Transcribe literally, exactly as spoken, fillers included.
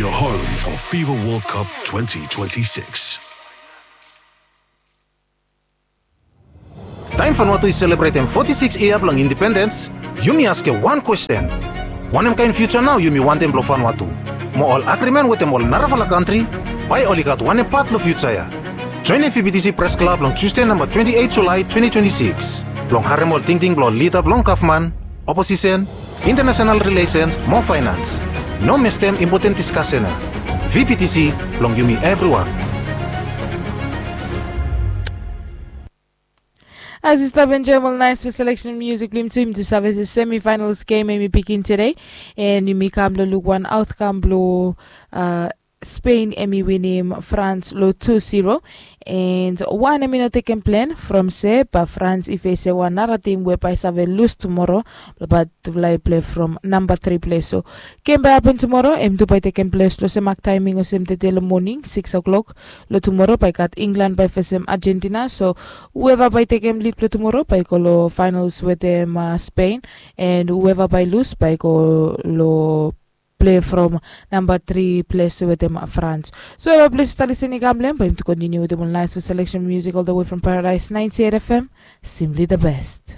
Your home of FIFA World Cup twenty twenty-six. Taem Vanuatu i selebretem foti sikis yia blong indipendens, yumi askem wan kwesten. Wanem kaen fiuja nao yumi wantem blong Vanuatu? Mo ol agrimen wetem ol narafala kantri, bae oli gat wanem pat long fiuja ya? Joenem VPTC Pres Klab long Tusde namba twenti eit Julae twenti twenti sikis blong harem ol tingting blong ol lida blong gavman, oposisen, intanasonal rilesens mo faenans. No mistem impoten diskasen ya. VPTC blong yumi evriwan. As yu stap enjoem ol naes fes seleksen musik blong yumi tu, yumi tu save se semifinals gem hemi bigin tede. An yumi kam long luk wan aotkam blong Spain hemi winim Frans long tu zero. An wan hemi no tekem plen from se bae Frans i fesem wan nara tim we bae i save lus tumoro, bae tufala i plei from namba tri ples. So gem bae hapen tumoro, hem tu bae i tekem ples long sem mak taeming olsem tede long moning sikis o'klok. Long tumoro bae i gat Inglan bae i fesem Ajentina. So hueva bae i tekem lid blong tumoro bae i go long faenals wetem Spain. An hueva bae i lus bae i go long plei from namba tri ples wetem Frans. So hueva ples i stap lisin i kam long hem, bae yumi tu kontiniu wetem ol naes fes seleksen musik ol the way from Paradise ninety-eight FM. Simply the best.